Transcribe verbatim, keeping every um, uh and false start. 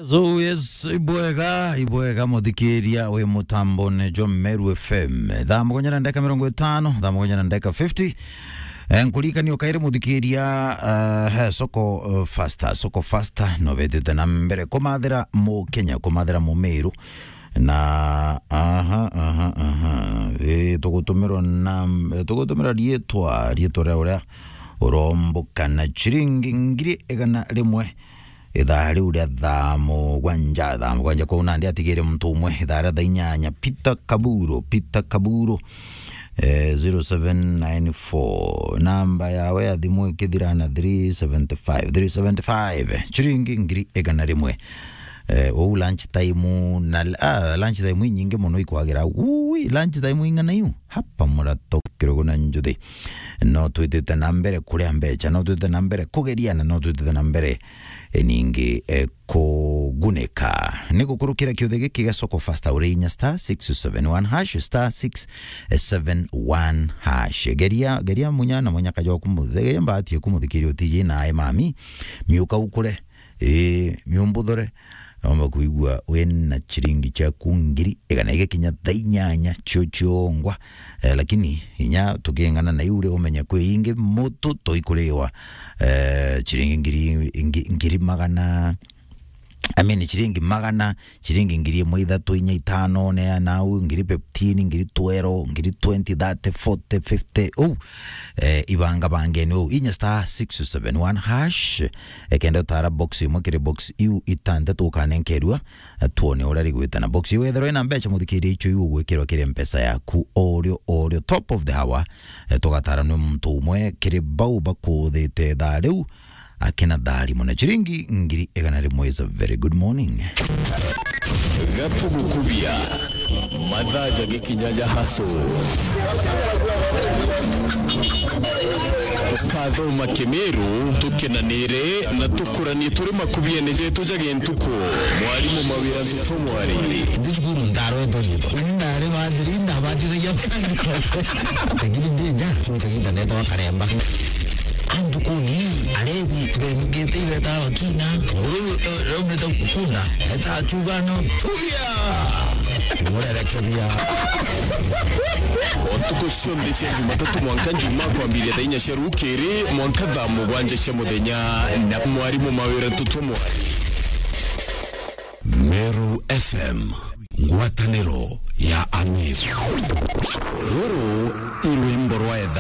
So yes, ibwega, ibwega muthikiria wi mutambone jwa Meru F M. Thaa mugwanja na ndagika mirongo itano, thaa mugwanja na ndagika fifty. Eh, nkuririkania ukaire muthikiria, eh, he soko, eh, faster, soko faster, no bethite na mbere kumathira mu Kenya, kumathira mu Meru. Na, aha, aha, aha. Eh, tugutumirwa na, eh, tugutumira riitwa, riitwa ria uria uromboka na ciringi ngiri igana rimwe. Ithaa riu ria thaa mugwanja, thaa mugwanja kuu nandi atigire muntu umwe. Ithaa ria thaa inyanya, Peter Kaburo, Peter Kaburo, eh, zero seven nine four. Namba yawe ya thimu ikithira na three seventy five, three seventy five. Ciringi ngiri igana rimwe. Eh, uu lunch time na, ah, lunch time inyingi muno ikwagira. Ui, lunch time ing'ana iu? Hapa murato kirogo na njuthi. No twitite na mbere kuria mbecha, no twitite na mbere kugeriana, no twitite na mbere, eh, ningi, eh, kugunika. Ni gukurukira kiuthe giki gia soko faster uri inya star six seven one hash, star six seven one hash. Geria, geria munya na munyaka jwaku muthe, geria mbati yaku muthikiri utiji nae mami. Miuka ukure, ii, miumbuthure. Omba kuigua wina ciringi ciaku ngiri igana igakinya thaa inyanya cio ciongwa. Eh, lakini inya tuking'ana na iu ri umenye kwi ingi mutu toikuriwa, eh, ciringi ngiri, ngi-, ngiri magana, I mean, ciringi magana, ciringi ngiri imwe, ithatu, inya, itano, neana au, ngiri fifteen, ngiri twelve, ngiri twenty, thirty, forty, fifty, uu. Eh, ibanga bangeni uu. Inya star six seven one hash. Ekenda utara box imwe kiri box iu itantatu ukanenkerua, eh, tuone uria rigwita na box iu. Ethirwa ina mbecha muthikiria icio iu ugwikirwa kiri mpesa yaku orio, orio. Top of the hour, eh, tugatara ni muntu umwe kiri bau bakuthite thaa riu, akina tharimo na ciringi ngiri igana rimwe is a very good morning. Gatugukubia mathaa ja gikinya ja haso. Tukathoma Kimiru, tukenanire na tukuranie turi makubiene jetu ja gintuku. Mwarimu Mawira Ntutu Mwari. Ndi cukuru ndarwetwo riitwa. Ni ndari bathiri, ndabatithagia. Lakini ndi nja, cukuru kagiita neetagwa Karemba. Antukuni, arebi, bemugite ibeta bakina. Nguru, eh, raumite kunda, eta akiuga no, tuya! Murerekebia. O ntuku cionthe cia Jumatatu mwanka Njumaa kwambiria thaa inya cia rukiri, mwanka thaa mugwanja cia muthenya, na mwarimu Mawira Ntutu Mwari. Meru F M, ngwataniro ya Amiru. Ruru i rwimbo rwa etha.